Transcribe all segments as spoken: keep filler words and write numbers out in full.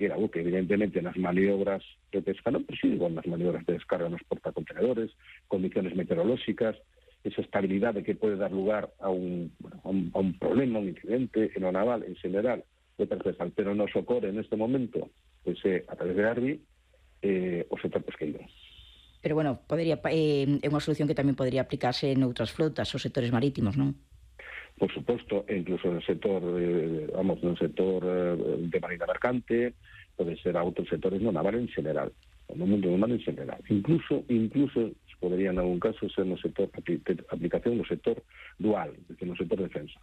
que era o que evidentemente nas maniobras de pesca non persiguen nas maniobras de descarga nos portacontenedores, condiciones meteorolóxicas, esa estabilidade que pode dar lugar a un, bueno, a un, a un problema, un incidente en o naval en general de transversal, pero nos ocorre neste momento, pois é a través de Arbi, eh, o sector pesqueiro. Pero, bueno, podería, eh, é unha solución que tamén podría aplicarse noutras flotas ou sectores marítimos, non? Por suposto, e incluso no sector, eh, vamos, no sector eh, de marina mercante, pode ser a outros sectores no naval en general, no mundo naval en general. Incluso, incluso, podría en algún caso ser no sector de aplicación no sector dual, decir, no sector defensa.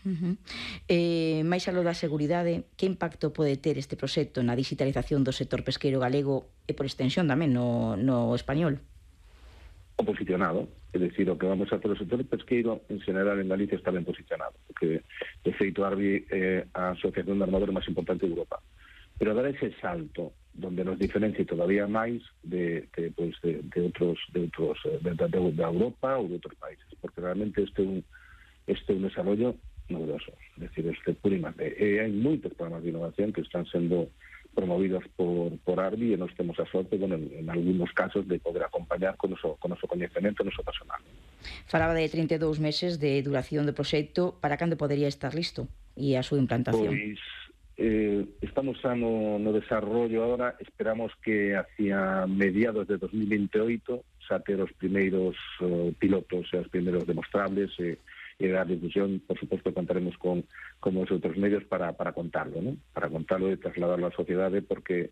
Uh-huh. Eh, máis aló da seguridade, que impacto pode ter este proxecto na digitalización do sector pesqueiro galego e por extensión tamén no, no español? O posicionado, é dicir, o que vamos a hacer o sector pesqueiro en general en Galicia está ben posicionado, porque de feito Arbi é a asociación de armadores máis importante de Europa, pero dar ese salto donde nos diferencie todavía máis de, de, pues, de, de outros de outros de, de, de Europa ou de outros países, porque realmente este é un este é un desarrollo novedoso, é dicir, este puro I más D. E hai moitos programas de innovación que están sendo promovidos por, por Arbi e nós temos a sorte, bueno, en, en algunos casos de poder acompañar con o con noso coñecemento, noso personal. Falaba de trinta e dous meses de duración do proxecto, para cando podería estar listo e a súa implantación? Pois eh, estamos xa no, no desarrollo agora, esperamos que hacia mediados de dos mil veintioito xa ter os primeiros uh, pilotos e os primeiros demostrables e eh, e dar difusión. Por suposto, contaremos con, con os outros medios para, para contarlo, ¿no? Para contarlo e trasladarlo á sociedade, porque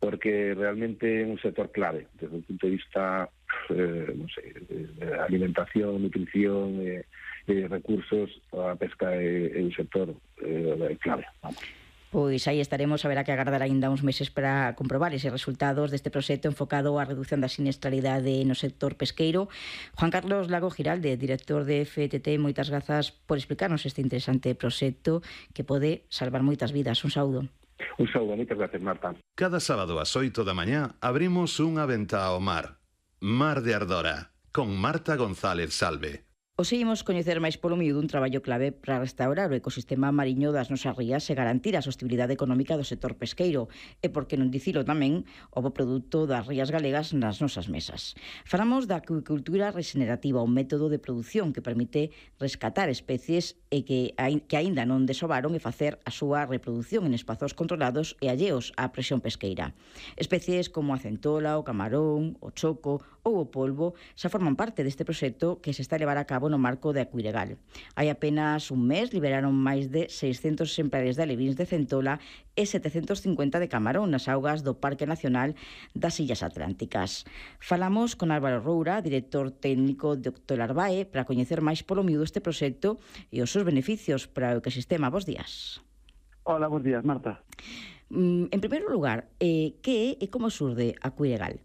porque realmente é un sector clave, desde o punto de vista eh, non sei, de alimentación, nutrición, eh, eh, recursos, a pesca é, é un sector eh, clave, vamos. Pois aí estaremos, haberá que agardar aínda uns meses para comprobar eses resultados deste proxecto enfocado á reducción da siniestralidade no sector pesqueiro. Juan Carlos Lago Giralde, director de F T T, moitas grazas por explicarnos este interesante proxecto que pode salvar moitas vidas. Un saúdo. Un saúdo, moitas gracias, Marta. Cada sábado ás oito da mañá abrimos unha venta ao mar. Mar de Ardora, con Marta González Salve. Os seguimos coñecer máis polo miúdo un traballo clave para restaurar o ecosistema mariño das nosas rías e garantir a sostibilidade económica do sector pesqueiro e, por que non dicilo tamén, o bo produto das rías galegas nas nosas mesas. Falamos da acuicultura regenerativa, un método de produción que permite rescatar especies e que, que aínda non desovaron e facer a súa reproducción en espazos controlados e alleos á presión pesqueira. Especies como a centola, o camarón, o choco ou o polvo xa forman parte deste proxecto que se está a levar a cabo no marco de Acuiregal. Hai apenas un mes liberaron máis de seiscentos exemplares de alevíns de centola e setecentos cincuenta de camarón nas augas do Parque Nacional das Illas Atlánticas. Falamos con Álvaro Roura, director técnico de Octolarbae, para coñecer máis polo miúdo este proxecto e os seus beneficios para o ecosistema. Bos días. Hola, bos días, Marta. En primeiro lugar, eh, que é e como surde Acuiregal?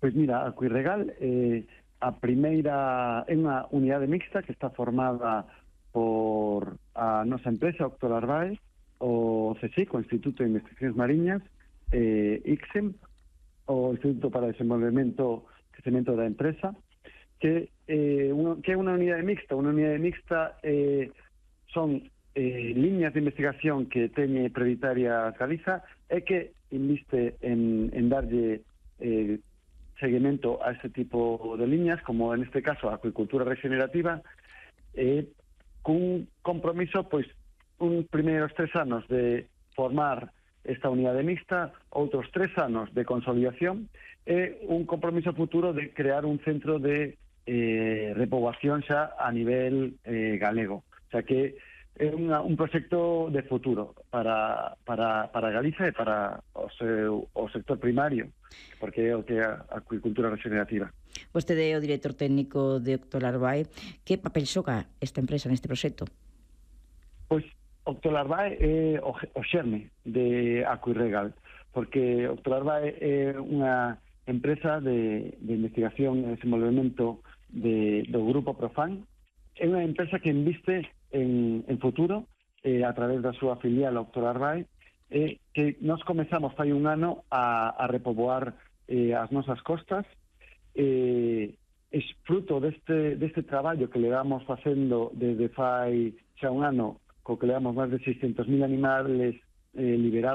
Pois mira, Acuiregal eh, a primeira é unha unidade mixta que está formada por a nosa empresa Octolarbae, o C S I C, o Instituto de Investigacións Mariñas, eh, I C S E M, o Instituto para o Desenvolvemento Crecemento da Empresa, que, eh, uno, que é unha unidade mixta. Unha unidade mixta eh, son eh, liñas de investigación que teñe Prioritarias Galiza e que inviste en, en darlle eh, seguimento a este tipo de liñas, como en este caso a acuicultura regenerativa, eh, cun compromiso, pois, un primeiros tres anos de formar esta unidade mixta, outros tres anos de consolidación e un compromiso futuro de crear un centro de eh, repoboación xa a nivel eh, galego. O sea que é unha, un proxecto de futuro para, para, para Galiza e para o, seu, o sector primario, porque é o que é a acuicultura regenerativa. Vostede é o director técnico de Octolarbae. Que papel xoga esta empresa neste proxecto? Pois Octolarbae é o, o xerme de Acuiregal, porque Octolarbae é unha empresa de, de investigación e desenvolvemento de, do grupo Profan. É unha empresa que inviste en, en futuro eh, a través da súa filial Octolarbae, eh, que nos comezamos fai un ano a, a repoboar eh, as nosas costas. Eh, é fruto deste, deste traballo que le damos facendo desde fai xa un ano, co que le damos máis de seiscentos mil animales eh, liberados